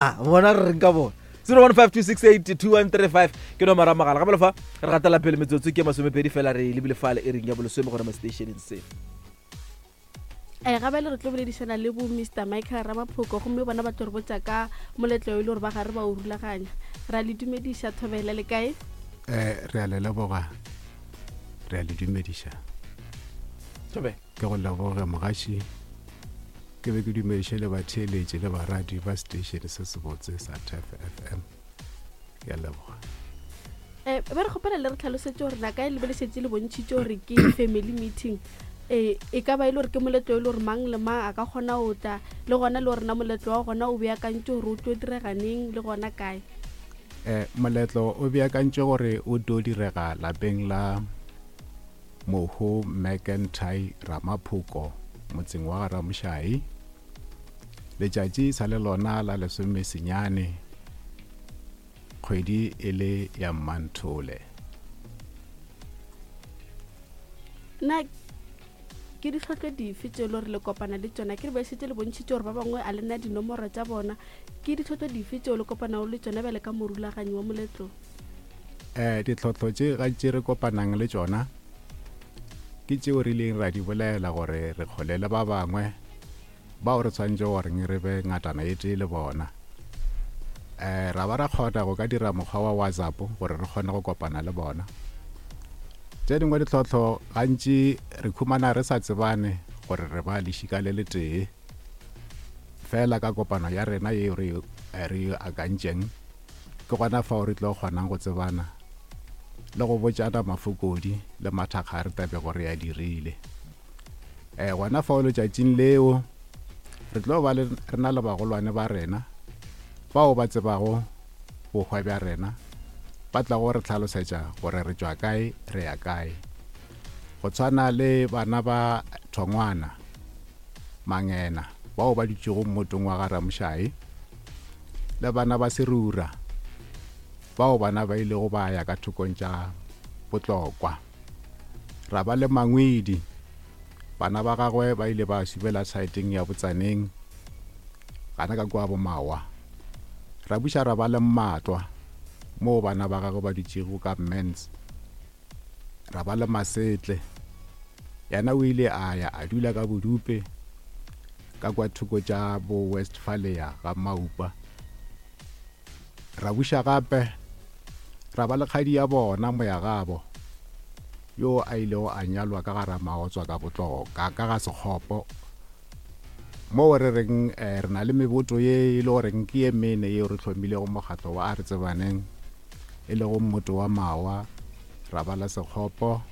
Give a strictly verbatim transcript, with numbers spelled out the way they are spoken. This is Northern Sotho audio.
Bona re reng ka bona? zero one five two six eight two one three five ke nomoro ya mogala. Gabele fa re gatela pele, metsotso ke masomepedi fela re lebile fale e reng ya bolesome gona mo stationeng se. um gabele re tlo boledišana le bo Mr Michael Ramaphoko, gomme bona ba tlo re botša ka moletlo e le gore ba gare ba o rulaganya. Re a le dumediša, thobela, le kae? um re a le leboga, re a le dumediša. Thobela. Ke go leboge, mogaši. Ke be ke dumediše le batheeletše le baradi ba station se sebotse sa T F F M. Ke a leboga. um be re kgopela le re tlhalosetše gore na kae le be le šetše le bontšhitše gore ke family meeting, um e ka ba e le gore ke moletlo e le gore mang le mang a ka kgona go tla, le gona le gore na moletlo wa gona o beakantše gore o tlo direganeng le gona kae? um moletlo o beakantše gore o tlo direga lapeng la mohu McIntyre Ramaphoko, motseng wa Garamošai. Letšatši sa le lona la lesomesenyane, kgwedi e le ya Mmanthole. Na ke ditlhotlo dife tse e le gore le kopana le tsona? Ke re ba šetše le bontšhitše gore ba bangwe a lena dinomoro tša bona. Ke ditlhotlo dife tseo le kopanago le tsona bjale ka morulaganyi wa moletlo? um ditlhohlo tše gantši re kopanang le tšona ke tšeo re ileng ra di bolela gore re kgole le ba bangwe bao re tshwanetse goreng re be ngatana e tee le bona. um ra ba ra kgona go ka dira mokgwa wa WhatsApp gore re kgone go kopana le bona. Tše dingwe ditlhohlo, gantši re khumana re sa tsebane gore re ba lešika le letee fela. Ka kopano ya rena yeo re re akantšeng, ke gona fao re tlo kgonang go tsebana le go botšana mafokodi le mathakga a re tabego re a dirile. um gona fao letšatšing leo re tlo ba le re na le bagolwane ba rena bao ba tsebago bohwa bja rena, ba tla go re tlhalosetša gore re tšwa kae, re ya kae, go tshwana le bana ba Thongwana Mangena bao ba dutšego mmotong wa Garamošai, le bana ba Serura bao bana ba ilego ba ya ka thokong tša Botlokwa. Ra ba le Mangwedi, bana ba gagwe ba ile ba subela saeteng ya Botsaneng gana ka kua Bomawa. Ra buša ra ba le Mmatlwa, moo bana ba gagwe ba dutšego ka Mans. Ra ba le Masetle, yena o ile a ya a dula ka Bodupe ka kwa thoko tša bo Westphalia ga Maupa. Ra buša gape ra ba le kgadi ya bona Moyagabo, yo a ilego a nyalwa ka gara Maotswa ka Botloka ka ga Sekgopo, moo re reng eh, re na le meboto ye e le goreng ke ye mene yeo re hlomilego mokgatlo wa A Re Tsebaneng, e lego mmoto wa Mawa, ra ba la Sekgopo,